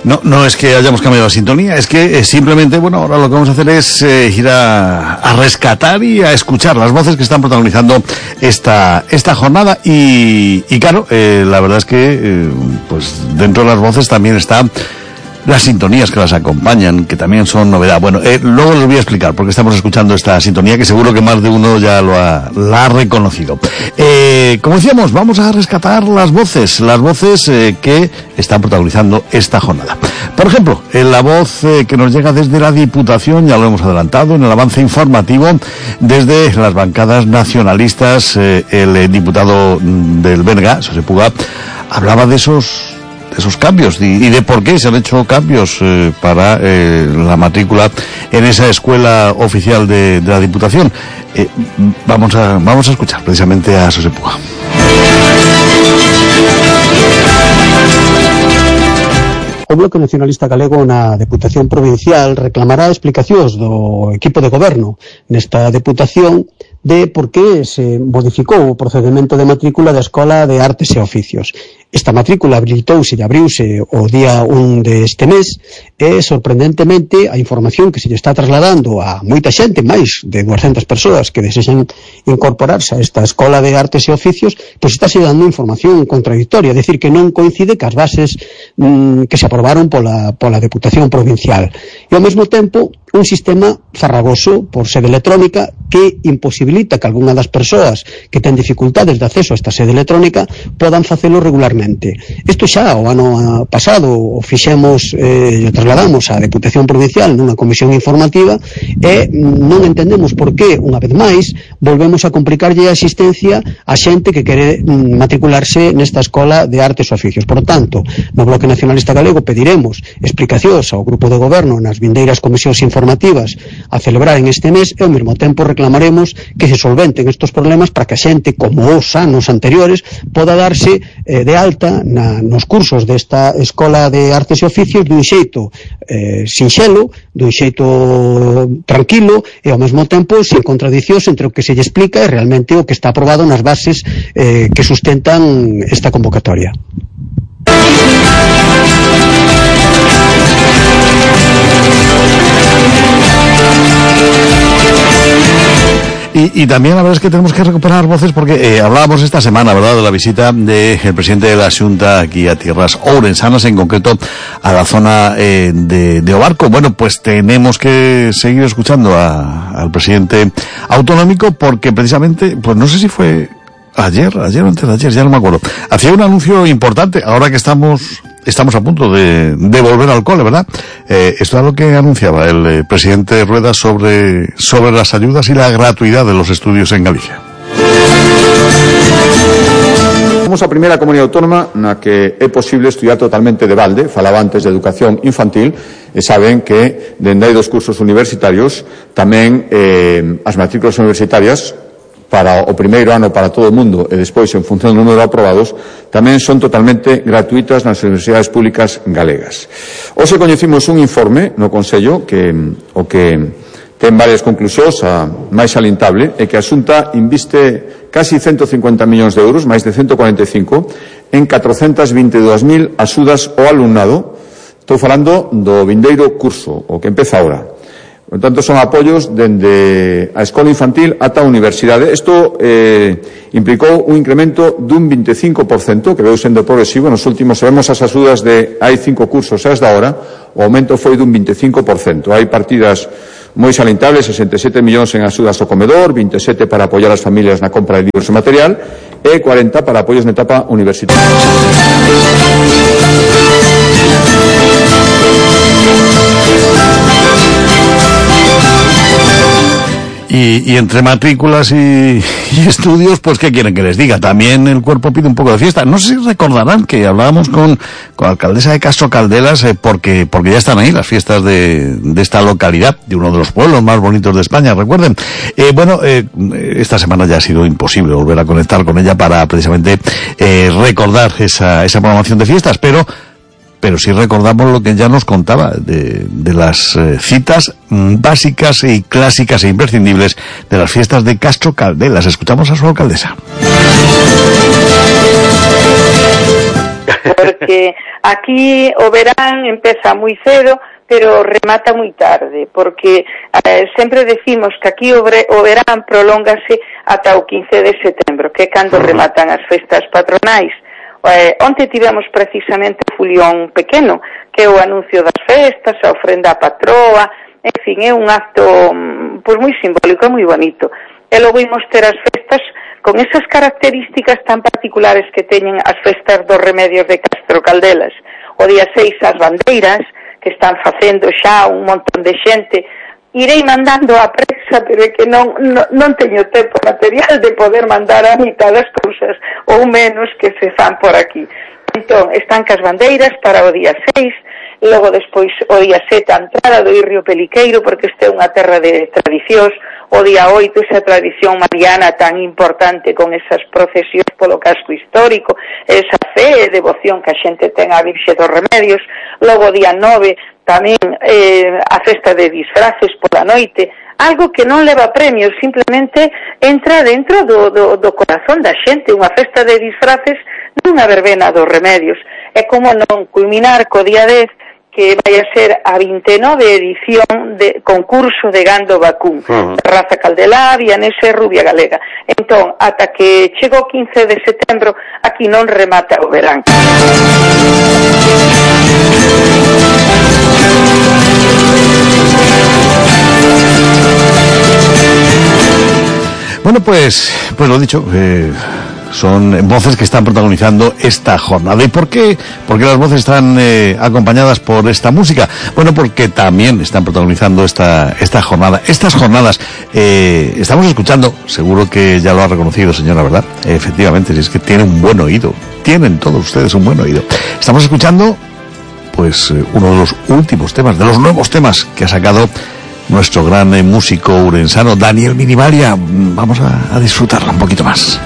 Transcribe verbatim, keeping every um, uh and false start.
No, no es que hayamos cambiado la sintonía, es que eh, simplemente, bueno, ahora lo que vamos a hacer es eh, ir a, a rescatar y a escuchar las voces que están protagonizando esta esta jornada y, y claro, eh, la verdad es que eh, pues dentro de las voces también está las sintonías que las acompañan, que también son novedad. Bueno, eh, luego les voy a explicar porque estamos escuchando esta sintonía que seguro que más de uno ya lo ha, la ha reconocido. Eh, como decíamos, vamos a rescatar las voces, las voces eh, que están protagonizando esta jornada. Por ejemplo, en la voz eh, que nos llega desde la Diputación, ya lo hemos adelantado en el avance informativo, desde las bancadas nacionalistas, eh, el eh, diputado del B N G, José Puga, hablaba de esos esos cambios y, y de por qué se han hecho cambios eh, para eh, la matrícula en esa escuela oficial de, de la Diputación. Eh, vamos a vamos a escuchar precisamente a José Puga. O Bloque Nacionalista Galego na Deputación Provincial reclamará explicacións do equipo de goberno nesta Deputación de por que se modificou o procedimento de matrícula da Escola de Artes e Oficios. Esta matrícula habilitouse e abriuse o día un deste mes e, sorprendentemente, a información que se lle está trasladando a moita xente, máis de duascentas persoas que desexan incorporarse a esta Escola de Artes e Oficios, pois está se dando información contradictoria, é dicir, que non coincide cas bases mmm, que se aprobaron pola, pola Deputación Provincial. E, ao mesmo tempo, un sistema farragoso por sede electrónica que imposibilita que algunha das persoas que ten dificultades de acceso a esta sede electrónica podan facelo regularmente. Isto xa o ano pasado o fixemos e eh, trasladamos á Deputación Provincial nunha comisión informativa e non entendemos por que, unha vez máis, volvemos a complicarlle a asistencia a xente que quere mm, matricularse nesta Escola de Artes e Oficios. Por tanto, no Bloque Nacionalista Galego pediremos explicacións ao grupo de goberno nas vindeiras comisións informativas a celebrar en este mes e ao mesmo tempo reclamaremos que se solventen estos problemas para que a xente, como os anos anteriores, poda darse eh, de alta na, nos cursos desta Escola de Artes e Oficios dun xeito eh, sinxelo, dun xeito tranquilo e ao mesmo tempo sin contradicións entre o que se lle explica e realmente o que está aprobado nas bases eh, que sustentan esta convocatoria. Y, y también la verdad es que tenemos que recuperar voces porque eh, hablábamos esta semana, ¿verdad?, de la visita del de presidente de la Xunta aquí a tierras ourensanas, en concreto a la zona eh, de, de Obarco. Bueno, pues tenemos que seguir escuchando a, al presidente autonómico porque precisamente, pues no sé si fue ayer, ayer o antes de ayer, ya no me acuerdo, hacía un anuncio importante, ahora que estamos estamos a punto de, de volver al cole, ¿verdad? Eh, esto es lo que anunciaba el eh, presidente Rueda sobre, sobre las ayudas y la gratuidad de los estudios en Galicia. Somos a primeira comunidade autónoma na que é posible estudiar totalmente de balde, falaba antes de educación infantil, e saben que dende aí dos cursos universitarios tamén eh, as matrículas universitarias para o primeiro ano para todo o mundo e despois en función do número de aprobados tamén son totalmente gratuitas nas universidades públicas galegas. Hoxe coñecimos un informe no Consello que o que ten varias conclusións, a máis salientable é que a Xunta inviste casi ciento cincuenta millóns de euros, máis de ciento cuarenta e cinco, en catrocentas vinte e dúas mil axudas ao alumnado. Estou falando do vindeiro curso, o que empeza ahora. Por tanto, son apoios dende a escola infantil ata a universidade. Isto eh, implicou un incremento dun vinte e cinco por cento, que veu sendo progresivo. Nos últimos, sabemos as axudas de hai cinco cursos e as da hora, o aumento foi dun vinte e cinco por cento. Hai partidas moi salientables, sesenta e sete millóns en axudas ao comedor, vinte e sete para apoiar as familias na compra de libros e material, e cuarenta para apoios na etapa universitaria. Y, y entre matrículas y, y estudios, pues ¿qué quieren que les diga? También el cuerpo pide un poco de fiesta. No sé si recordarán que hablábamos con, con la alcaldesa de Castro Caldelas, eh, porque, porque ya están ahí las fiestas de, de esta localidad, de uno de los pueblos más bonitos de España, recuerden. Eh, bueno, eh, esta semana ya ha sido imposible volver a conectar con ella para precisamente eh, recordar esa, esa programación de fiestas, pero pero sí recordamos lo que ya nos contaba de, de las eh, citas mm, básicas y clásicas e imprescindibles de las fiestas de Castro Caldelas. Escuchamos a su alcaldesa. porque aquí o verán empeza moi cedo, pero remata moi tarde, porque eh, sempre decimos que aquí o, bre, o verán prolóngase ata o quince de setembro, que é cando rematan as festas patronais. Eh, onte tivemos precisamente o Fulión Pequeno, que é o anuncio das festas, a ofrenda a patroa, en fin, é un acto pois moi simbólico, moi bonito. E logo imos ter as festas con esas características tan particulares que teñen as festas dos Remedios de Castro Caldelas. O día seis as bandeiras, que están facendo xa un montón de xente. Irei mandando a prensa, pero é que non, non, non teño tempo material de poder mandar a mitad das cousas, ou menos que se fan por aquí. Entón, están cas bandeiras para o día seis, logo despois o día sete a entrada do Irrio Peliqueiro, porque este é unha terra de tradicións, o día oito esa tradición mariana tan importante con esas procesións polo casco histórico, esa fe e devoción que a xente ten á Virxe dos Remedios, logo o día nove tamén eh, a festa de disfraces pola noite, algo que non leva premios, simplemente entra dentro do, do, do corazón da xente, unha festa de disfraces nunha verbena dos Remedios. É como non culminar co día dez, que vai a ser a vinte e nove edición de concurso de gando vacún, uh-huh. raza caldelá, vianese, rubia galega. Entón, ata que chegou o quince de setembro, aquí non remata o verán. Bueno, pues, pues lo dicho, eh, son voces que están protagonizando esta jornada. ¿Y por qué? Porque las voces están eh, acompañadas por esta música. Bueno, porque también están protagonizando esta esta jornada. Estas jornadas eh, estamos escuchando, seguro que ya lo ha reconocido, señora, ¿verdad? Eh, efectivamente, si es que tiene un buen oído. Tienen todos ustedes un buen oído. Estamos escuchando, pues, eh, uno de los últimos temas, de los nuevos temas que ha sacado nuestro gran eh, músico urensano, Daniel Minivaria. Vamos a, a disfrutarla un poquito más.